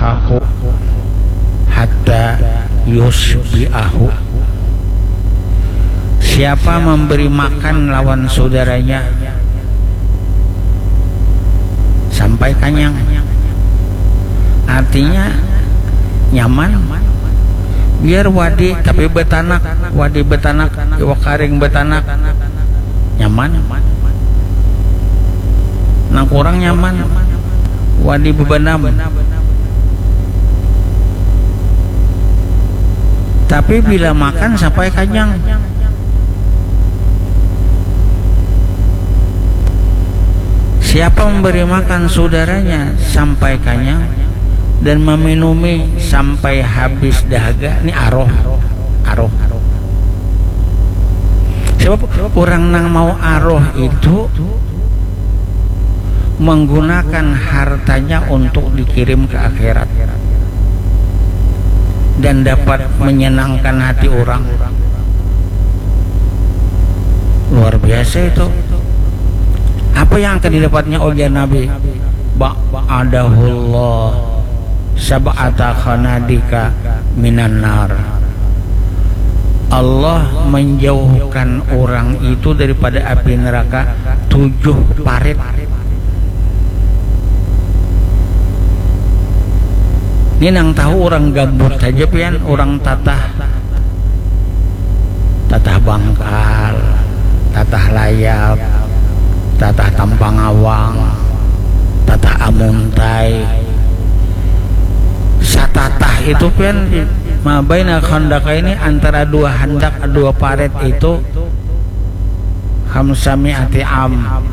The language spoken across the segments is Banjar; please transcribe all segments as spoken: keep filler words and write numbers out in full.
aku hatta yusbi'ahu. Siapa memberi makan lawan saudaranya sampai kanyang, artinya nyaman. Biar wadi tapi betanak, wadi betanak, iwak karing betanak, nyaman. Nang kurang nyaman, wadi bebenam. Tapi bila makan sampai kanyang. Siapa memberi makan saudaranya sampai kanyang dan meminumi sampai habis dahaga, ni aroh, aroh. Sebab orang nang mau aroh itu menggunakan hartanya untuk dikirim ke akhirat dan dapat menyenangkan hati orang. Luar biasa itu. Apa yang akan didapatnya oleh Nabi? Ba'adahullah sab'ata khanadika minan nar. Allah menjauhkan orang itu daripada api neraka tujuh parit. Ini nang tahu orang gambut saja pian, orang tatah, tatah bangkal, tatah layap, tatah tampangawang, tatah amuntai. Satatah itu pian, mabaina khandaka ini, antara dua handak, dua parit itu, khamsami'ati am.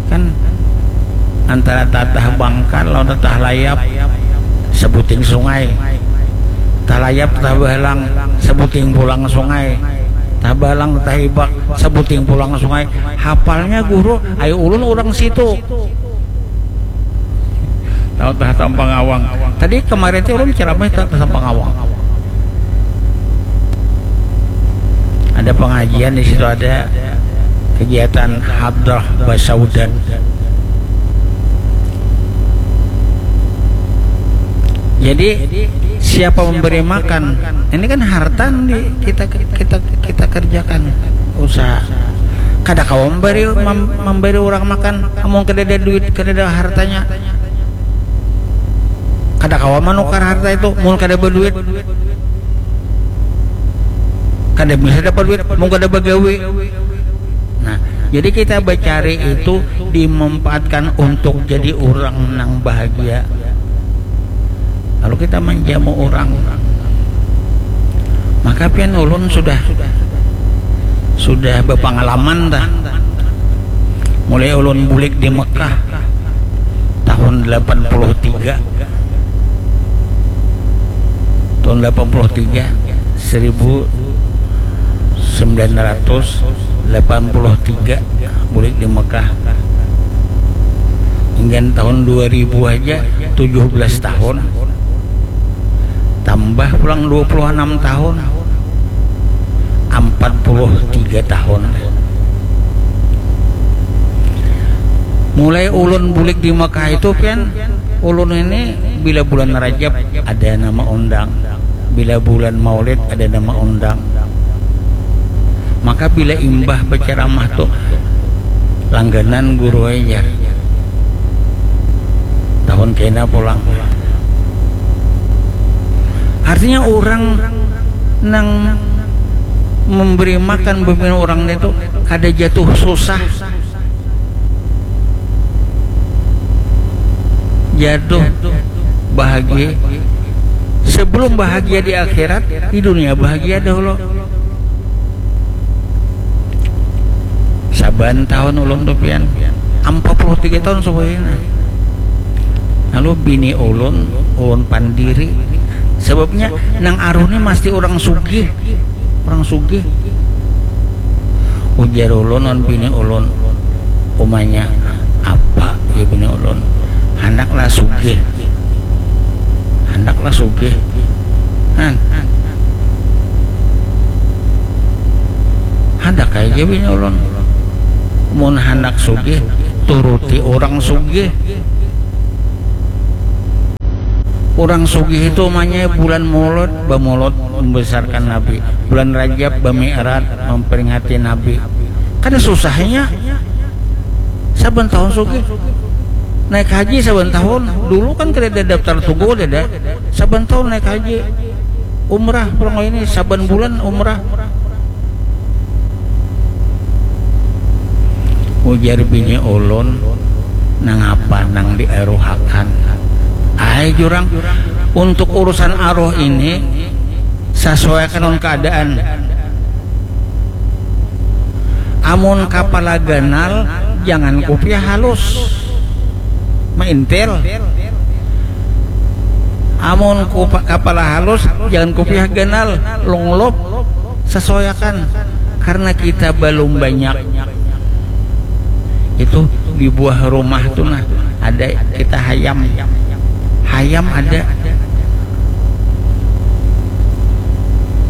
Kan antara tatah bangkal lawan tatah layap, sebuting sungai. Tatah layap, tatah bahalang, sebuting pulang sungai. Tatah bahalang, tatah ibak, sebuting pulang sungai. Hapalnya guru, ayo ulun orang situ. Tahu tah Tampang Awang. Tadi kemarin tuh ulun ceramah tentang Tampang Awang. Ada pengajian di situ, ada kegiatan hadrah basaudan. Jadi siapa memberi makan? Ini kan harta di kita kita kita kerjakan usaha. Kada kawa memberi mem- memberi orang makan, amun kada ada duit, kada ada hartanya. Kada kawa manukar harta itu mun kada berduit. Kada bisa dapat duit mun kada bagawi. Nah, jadi kita bercari itu dimanfaatkan untuk jadi orang nang bahagia. Lalu kita menjamu orang. Maka pian ulun sudah sudah berpengalaman dah. Mulai ulun bulik di Mekah tahun delapan puluh tiga. Tahun delapan puluh tiga, seribu sembilan ratus delapan puluh tiga, bulik di Mekah. Hingga tahun dua ribu aja tujuh belas tahun. Tambah pulang dua puluh enam tahun. Empat puluh tiga tahun. Mulai ulun bulik di Mekah itu pian, ulun ini bila bulan Rajab ada nama undang, bila bulan Maulid ada nama undang. Maka bila imbah berceramah tuh langganan guru aja. Tahun kena pulang. Artinya orang nang memberi makan pemimpin orang itu kada jatuh susah, jatuh bahagia. Sebelum bahagia di akhirat, di dunia bahagia dahulu. Saban tahun ulun tuh pian, empat puluh tiga tahun sebenarnya. Lalu bini ulun, ulun pandiri. Sebabnya nang aruh ni mesti orang sugih, orang sugih. Ujar ulun wan bini ulun, umanya apa ya bini ulun, handaklah sugih, handaklah sugih. Han, handak aja bini ulun. Mun handak sugih, turuti orang sugih. Urang sugih itu umanya bulan Maulud, bamulud membesarkan Nabi. Bulan Rajab bami'raj memperingati Nabi. Kada susahnya. Saban tahun sugih. Naik haji saban tahun. Dulu kan kada ada daftar tunggu, kada ada. Saban tahun naik haji. Umrah, pulang ini saban bulan umrah. Ujar bini ulun, nangapa nang diaruhakan? Ai jurang, untuk urusan aruh ini, sasuaiakan lawan keadaan. Amun kapala ganal, jangan kupiah halus, maintil. Amun kupa, kapala halus, jangan kupiah ganal, lunglop. Sasuaiakan, karena kita balum banyak. Itu di buah rumah tu nah, ada kita hayam. Hayam ada.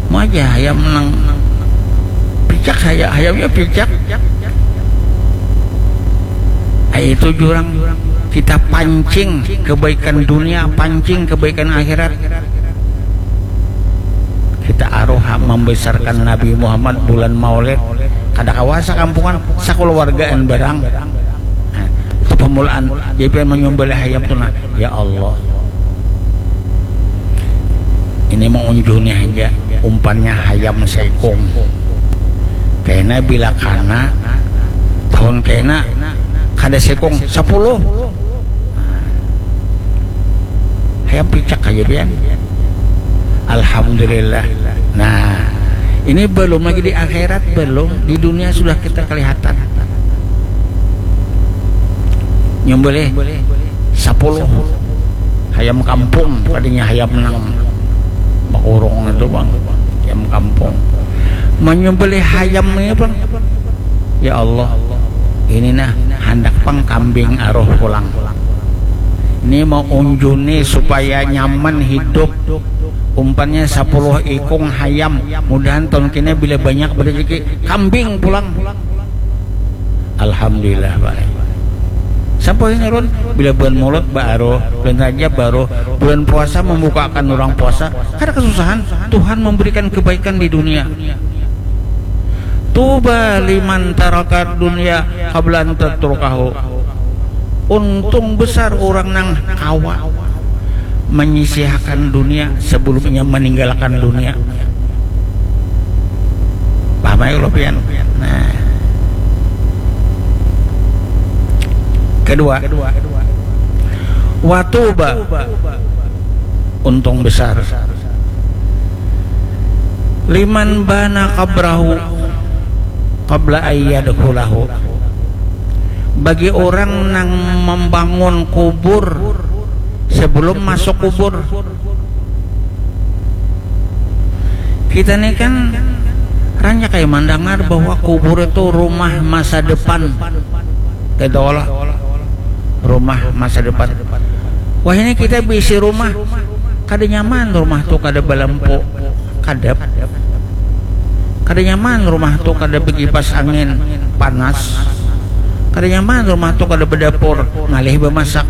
Mau aja hayam nang picak, haya, hayamnya picak. Ai, itu jurang, kita pancing kebaikan dunia, pancing kebaikan akhirat. Kita aruha membesarkan Nabi Muhammad bulan Maulid. Kada kawa sakampungan, sakulawargaan barang. Nah, itu pamulaan. Jadi pian manyumbalih hayam tu nah, ya Allah, ini maunjuni haja, umpannya hayam saikung. Kena bila kana tahun kena, kada saikung, sapuluh. Hayam picak aja pian. Alhamdulillah. Nah, ini belum lagi di akhirat, belum. Di dunia sudah kita kelihatan. Nyembelih sapuluh. Hayam kampung, tadinya hayam nang bakurung itu, Bang. Hayam kampung. Menyembelih hayam ini, Bang. Ya Allah, ini nah, handak pang kambing aruh pulang. Ini mau unjuni supaya nyaman hidup. Umpannya sapuluh ikung hayam. Mudahan tahun kini bila banyak berezeki, kambing pulang. Alhamdulillah, Pak. Sampai ini, Run, bila bulan Maulud baru, bulan Rajab baru, bulan puasa membukakan orang puasa, kada kesusahan. Tuhan memberikan kebaikan di dunia. Tuba liman tarakad dunia qabla an tatrukahu. Untung besar orang nang kawa menyisihakan dunia sebelum inya meninggalkan dunia. Paham aja kalau pian. Nah. Kedua, watuba, untung besar. Liman bana qabrahu qabla ayyadkhulahu. Bagi orang nang membangun kubur sebelum masuk kubur. Kita ni kan ranyak ai mandangar bahwa kubur itu rumah masa depan. Kita olah rumah masa depan. Wah, ini kita bisi rumah, kada nyaman rumah tu kada balampu, kadap. Kada nyaman rumah tu kada bekipas angin, panas. Kada nyaman rumah tu kada bedapur, ngalih bemasak.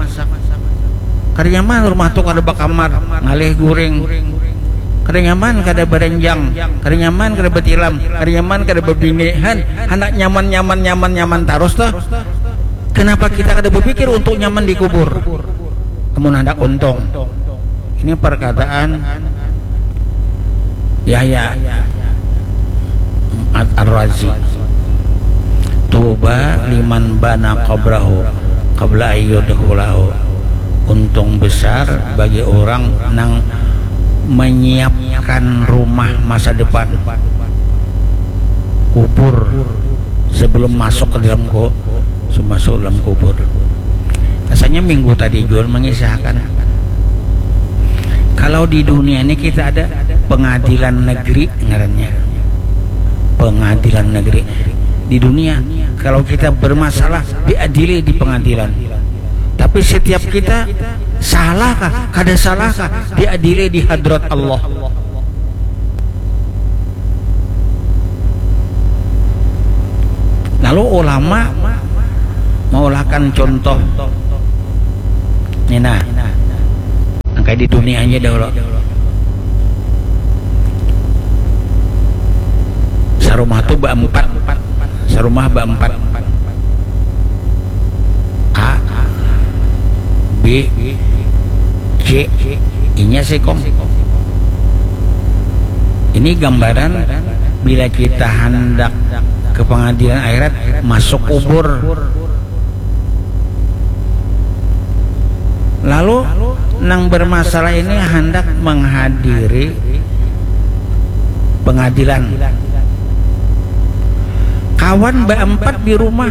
Kada nyaman rumah tu kada bakamar, ngalih guring. Kada nyaman kada berenjang, kada nyaman kada betilam, kada nyaman kada bebini. Han, handak nyaman, nyaman, nyaman, nyaman tarus tuh. Kenapa kita kada berpikir untuk nyaman di kubur? Amun handak untung. Ini perkataan Yahya Ar-Razi. Tuba liman bana qabrahu qabla ayyudkhulahu. Untung besar bagi orang nang menyiapkan rumah masa depan, kubur, sebelum masuk ke dalam ku-, sebelum masuk dalam kubur. Rasanya minggu tadi jual mengisahkan, kalau di dunia ini kita ada pengadilan negeri ngarannya. Pengadilan negeri. Di dunia, kalau kita bermasalah, diadili di pengadilan. Tapi setiap kita, salah kah, kada salah kah, diadili di hadrat Allah. Lalu ulama maulahkan contoh. Ini nah, nang Di dunia aja dahulu. Sarumah tuh berempat, sarumah berempat. A, B, C, inya sekong. Ini gambaran bila kita hendak ke pengadilan akhirat, masuk kubur. Lalu nang bermasalah ini hendak menghadiri pengadilan. Kawan berempat di rumah,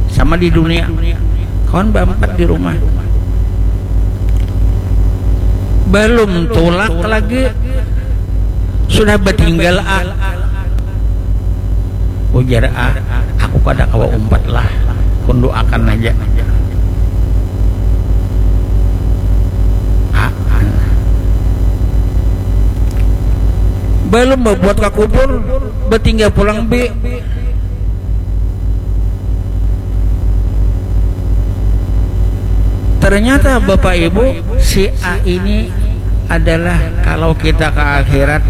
sama di dunia. Kawan berempat di rumah. Belum tulak lagi, sudah bertinggal A. Ujar A, aku kada kawa umpat lah, kunduakan aja. A, belum berbuat ke kubur, bertinggal pulang B. Ternyata Bapak Ibu, si A ini adalah kalau kita ke akhirat,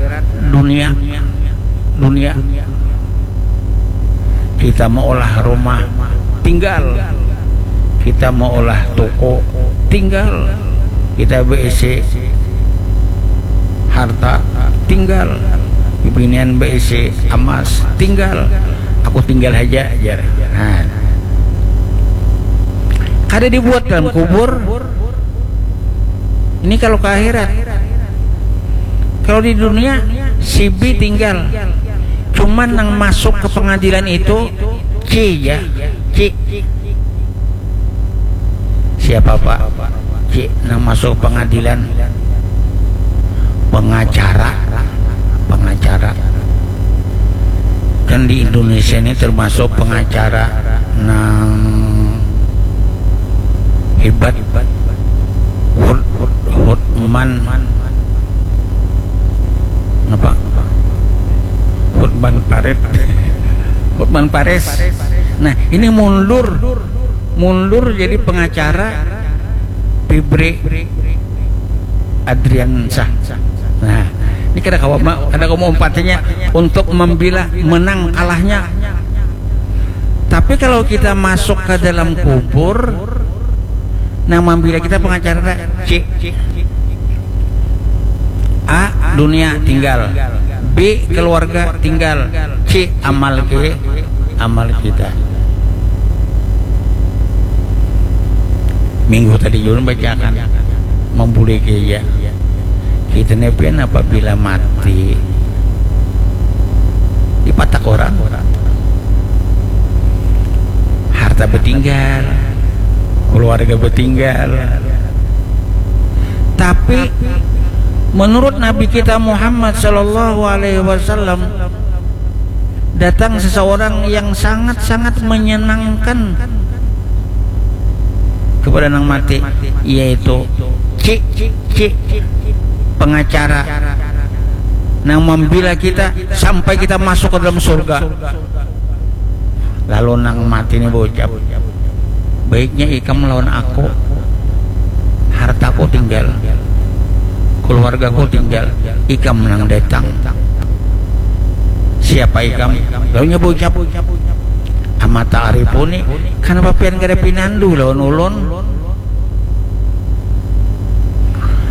dunia, dunia. Kita mau olah rumah, tinggal. Kita mau olah toko, tinggal. Kita B C harta, tinggal. Bibinian B C amas, tinggal. Aku tinggal aja, jar. Nah. Kada dibuat dalam kubur. Ini kalau ke akhirat. Kalau di dunia, si B tinggal. Cuman nang masuk ke pengadilan itu C, ya. C. Siapa, Pak? C, nang masuk pengadilan, pengacara. Pengacara. Kan di Indonesia ini termasuk pengacara nang hebat. Hut-, Hut-, Hutman. Apa? Hutman Paret. Hutman Pares. Nah, ini mundur. Mundur jadi pengacara Febri Adriansyah. Nah, ini kada kawa ma-, kada kawa maumpatinya untuk membela menang kalahnya. Tapi kalau kita masuk ke dalam kubur, nang membela kita pengacara C. A, dunia tinggal. B, keluarga tinggal. C, amal ke, amal kita. Minggu tadi ulun bacakan, membuli gereja. Kita ni pian apabila mati, dipatak orang. Harta betinggal, keluarga betinggal. Tapi menurut Nabi kita Muhammad sallallahu alaihi wasallam, datang seseorang yang sangat-sangat menyenangkan kepada nang mati, yaitu C, C, pengacara nang membela kita sampai kita masuk ke dalam surga. Lalu nang mati ni baucap, baiknya ikam lawan aku, hartaku tinggal, keluargaku tinggal, ikam nang datang. Siapa ikam? Lalu nya baucap, ama ta'rifuni, kenapa pian kada pinandu lawan ulun?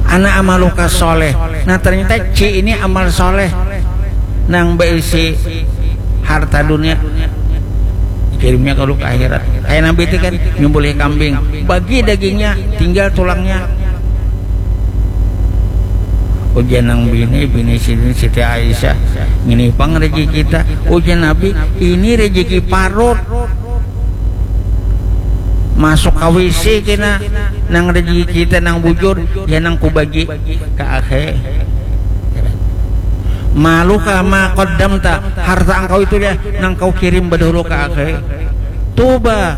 Ana amaluka soleh. Nah, ternyata C ini amal soleh nang berisi harta dunia, kirimnya kalau ke akhirat. Kayak Nabi itu kan nyembelih kambing, bagi dagingnya, tinggal tulangnya. Ujian nang bini, bini sini Siti Aisyah, ini pang rezeki kita. Ujian Nabi, ini rezeki parut. Masuk ke W C kena, nang rezeki kita nang bujur, ya nang kubagi ke akhe. Maluka ma qaddamta, harta engkau itu ya nang kau kirim bedahulu ke akhe. Tuba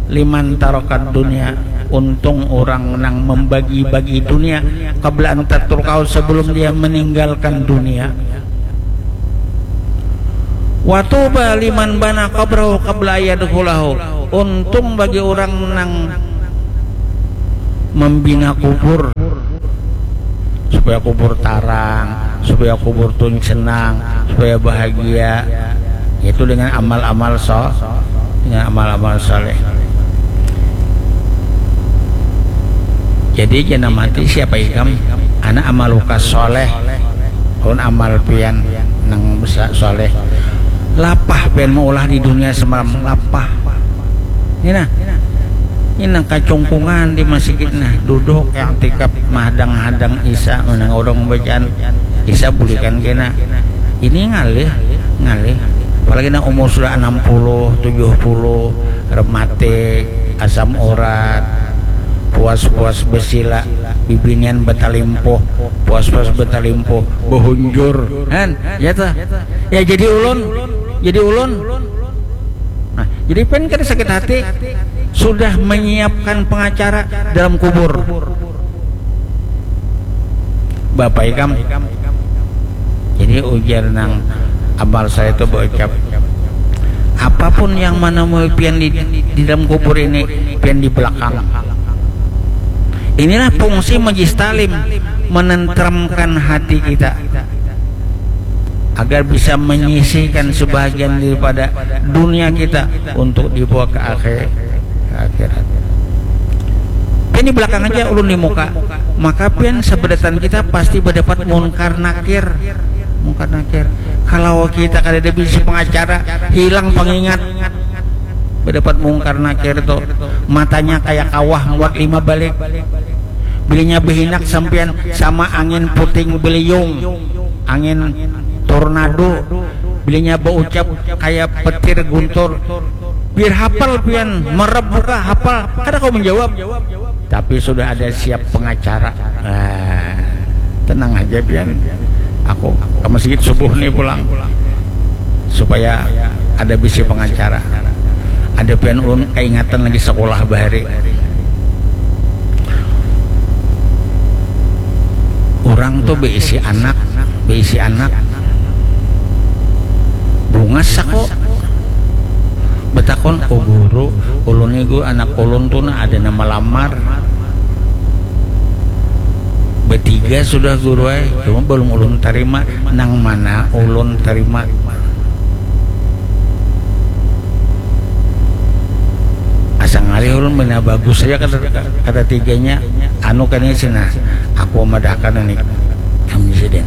liman tarokad dunia, untung orang nang membagi-bagi dunia, qabla an tatrukahu, sebelum dia meninggalkan dunia. Watuba liman bana qabrahu qabla ayadkhulahu. Untung bagi orang nang membina kubur supaya kubur tarang, supaya kubur tun senang, supaya bahagia, yaitu dengan amal-amal so dengan amal-amal soleh. Jadi jangan mati siapa ikam, anak amaluka soleh, pun amal pian nang soleh. Lapah pian maulah di dunia semalam, lapah. Ini nah, ini nang kacungkungan di masjid nah, duduk yang tikap mahadang-hadang isa, menang orang bacaan isa bulikan kena. Ini ngalih, ngalih. Apalagi nang umur sudah enam puluh, tujuh puluh, rematik, asam urat, puas-puas besila, bibinian betalimpuh, puas-puas betalimpuh, behunjur, kan? Ya toh? Ya jadi ulun, jadi ulun. Nah, jadi pen kada sakit hati sudah menyiapkan pengacara dalam kubur. Bapak ikam. Jadi ujar nang amal saya itu berucap, apapun yang menemui pian di, di dalam kubur ini, pian di belakang. Inilah fungsi majlis talim, menenteramkan hati kita agar bisa menyisihkan sebahagian daripada dunia kita untuk dibawa ke akhir, ke akhirat. Pian di belakang aja, ulun di muka. Maka pian sebedatan kita pasti berdapat mungkar nakir. Mungkar nakir. Kalau kita kada ada bisi pengacara, hilang pengingat. Berdapat mungkar nakir tuh, matanya kayak kawah muat lima balik. Bilinya behinak sampian sama angin puting beliung, angin tornado. Bilinya baucap kayak petir guntur. Biar hafal pian, merep muka hafal, kada kau menjawab. Tapi sudah ada siap pengacara. Nah, tenang aja pian. Aku ke masjid subuh nih pulang supaya ada bisi pengacara. Ada pian ulun kaingatan lagi sekolah bahari. Orang tuh beisi anak, beisi anak. Bungas aku. Betakon, oh guru, ulun nih guru, anak ulun tuh nah ada nama lamar. Betiga sudah guru ay, cuma belum ulun terima. Nang mana ulun terima? Asa ngalih ulun bina bagus saja kata, kata tiganya. Anu kan ini sih nah, aku madahkan ini kami sidin.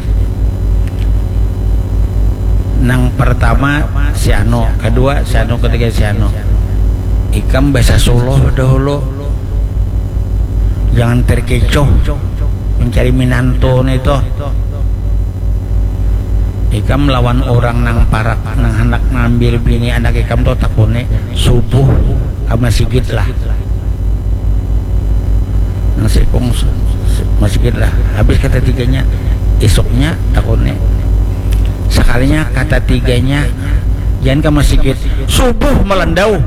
Nang pertama si anu, kedua si anu, ketiga si anu. Ikam bahasa suluh dahulu. Jangan terkecoh mencari minantu nih tuh. Ikam lawan orang nang parak nang hendak ngambil bini anak ikam tuh takuni subuh ke masjid lah. Nang sikung masjid lah. Habis kata tiganya, isuknya takuni. Sekalinya kata tiganya, jangan ke masjid. Subuh melendau.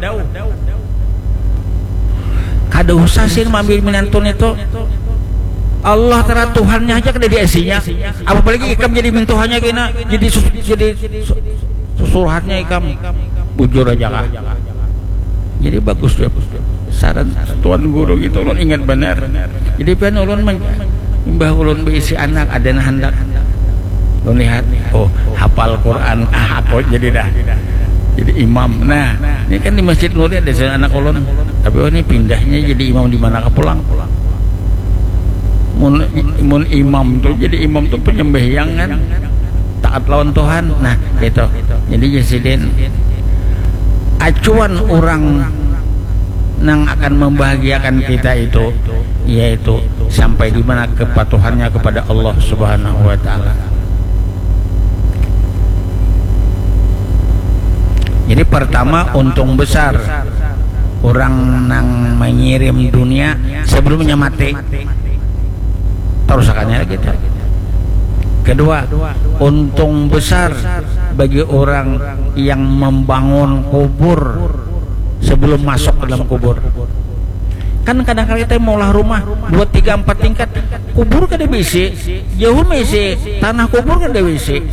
Kada usah sih maambil minantun itu. Allah Ta'ala Tuhannya aja kada diasinya. Apalagi ikam jadi mintuhannya kena, jadi sus, jadi su, susuruhannya ikam. Bujur aja kah? Jadi bagus tuh saran tuan guru gitu, ulun ingat benar. Jadi pian ulun men, imbah ulun beisi anak ada nah handak ulun lihat, oh hafal Quran, ah aku jadi dah jadi imam. Nah, ini kan di Masjid Nuri ada saja anak ulun, tapi oh ini pindahnya jadi imam di mana ke pulang. Mun, mun imam tuh jadi imam tuh penyembahyang kan, taat lawan Tuhan. Nah, gitu. Jadi jasidin acuan orang nang akan membahagiakan kita itu, yaitu sampai di mana kepatuhannya kepada Allah Subhanahu wa Ta'ala. Jadi pertama, untung besar orang nang mengirim dunia sebelumnya mati. Terusakannya kita. Kedua, untung besar bagi orang yang membangun kubur sebelum masuk ke dalam kubur. Kan kadang-kadang kita maulah rumah dua, tiga, empat tingkat, kubur kada bisi, jauh misi, tanah kubur kada bisi.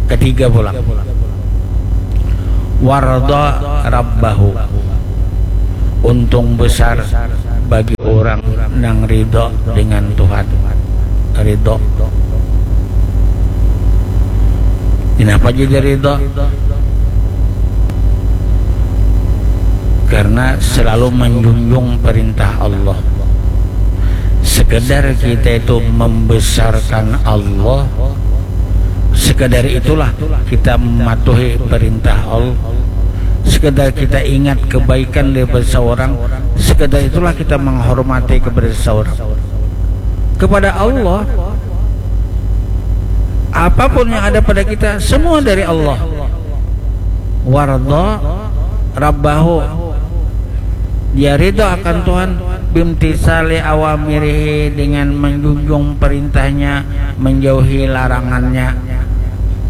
Ketiga pulang, warda rabbahu, untung besar bagi orang Urang nang ridho dengan Tuhan. Ridho. Kenapa jadi ridho? Karena selalu menjunjung perintah Allah. Sekedar kita itu membesarkan Allah, sekadar itulah kita mematuhi perintah Allah. Sekadar kita ingat kebaikan daripada seorang, sekadar itulah kita menghormati kepada seorang. Kepada Allah, apapun yang ada pada kita, semua dari Allah. Wardo rabbahu, dia ridho akan Tuhan, bimtisali awamirihi, dengan menjunjung perintahnya, menjauhi larangannya,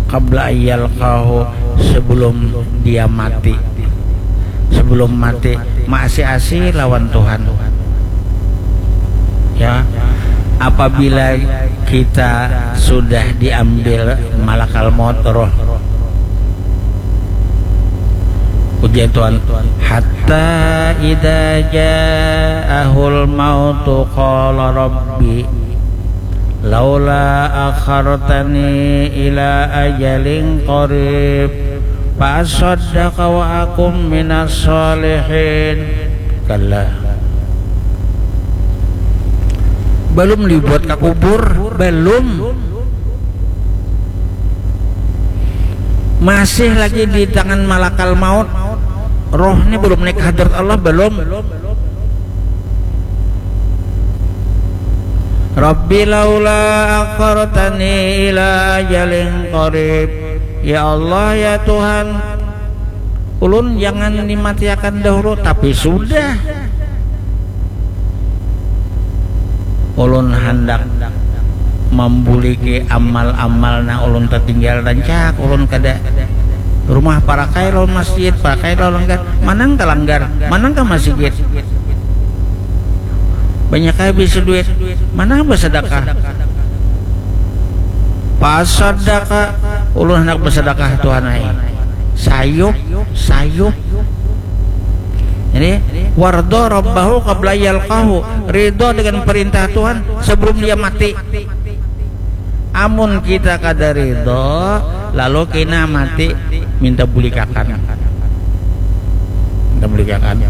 qabla ayyalqahu, sebelum dia mati. Sebelum mati, maasi-asi lawan Tuhan. Ya, apabila kita sudah diambil malakal maut roh, ujar Tuhan, hatta idza ja'ahul mautu qala rabbi laula akhartani ila ajalin qarib fa asaddaqa wa akum minas shalihin. Kalla. Belum dibuat ke kubur, belum. Masih lagi di tangan malakal maut. Rohnya belum naik ke hadrat Allah, belum. Rabbi laula akhartani ila ajalin qarib. Ya Allah, ya Tuhan, ulun jangan dimatiakan dahulu, tapi sudah. Ulun handak mambuliki amal-amal nang ulun tatinggal, rancak ulun kada. Rumah parakai lawan masjid, parakai lawan langgar. Manang ka langgar, manang ka masjid. Banyak habis duit, manang basadakah. Pasadakah, ulun handak basadakah Tuhan ai. Sayup, sayup. Jadi, wardo rabbahu qabla yalqahu, ridho dengan perintah Tuhan sebelum dia mati. Amun kita kada ridho, lalu kena mati minta bulikakan. Minta bulikakan.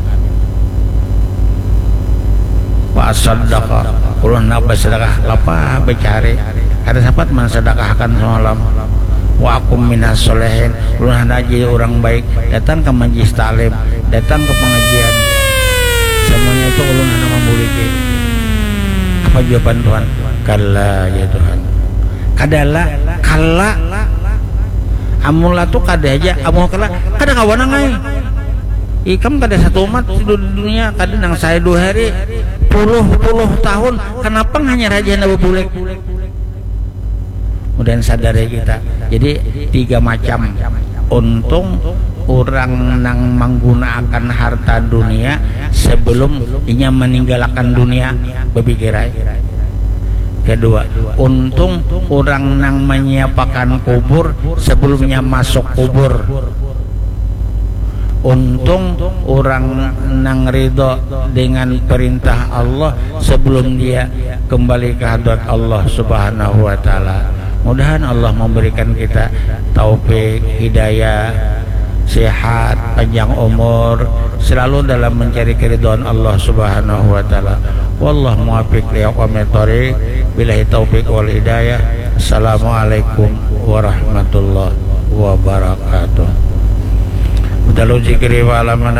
Wa asaddaqa, ulun handak basadakah, lapah bacari. Kada sapat mansadakahkan semalam. Wa akum minas solehin, ulun handak jadi orang baik, datang ke majlis taklim, datang ke pengajian. Semuanya itu ulun handak mambuliki. Apa jawaban Tuhan? Kalla, ya Tuhan. Kadala, kalla. Amun la tu kada aja, amun kalla, kada kawa nang ai. Ikam kada satu umat di dunia, kada nang sahari dua hari, puluh-puluh tahun, kenapa hanyar haja handak babulik? Mudahan sadar ya kita. Jadi, tiga macam. Untung urang nang manggunaakan harta dunia sebelum inya maninggalakan dunia, bapikir ai. Kedua, untung urang nang manyiapakan kubur sebelum inya masuk kubur. Untung urang nang ridho dengan perintah Allah sebelum dia kembali ke hadrat Allah Subhanahu wa Ta'ala. Mudahan Allah memberikan kita taufik, hidayah, sehat, panjang umur, selalu dalam mencari keridhaan Allah Subhanahu wa Ta'ala. Wallahu muwaffiq li aqwamit thoriq. Billahi taufiq wal hidayah. Assalamualaikum warahmatullahi wabarakatuh. Dalu zikri wa alaman